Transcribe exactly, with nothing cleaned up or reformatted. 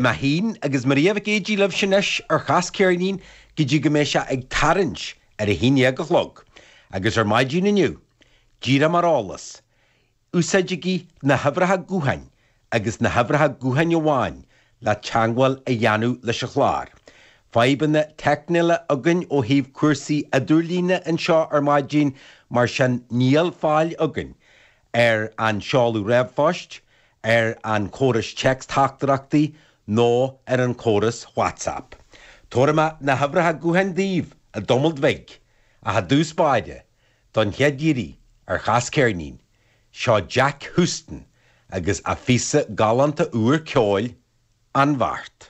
Mé féin agus Maria Mhic Géidigh libhse anois ar Chas Ceirnín go dtí go mbeidh sé ag tarraingt ar a haon déag a chlog, agus ar maidin inniu, díreach mar eolas, úsáidigí na huimhreacha gutháin agus na huimhreacha gutháin amháin le teagmháil a dhéanamh leis an chlár. Fadhbanna teicniúla againn ó thaobh cúrsaí idirlíne anseo ar maidin mar sin níl fáil againn ar an seoladh ríomhphoist, ar an chóras téacs-teachtaireachtaí nó ar an chóras WhatsApp. Tabharfaidh mé na huimhreacha gutháin daoibh i dtamall beag ach i dtús báire don chéad iarraidh ar Chas Ceirnín, seo Jack Houston agus a phíosa galánta úr ceoil An Bheart.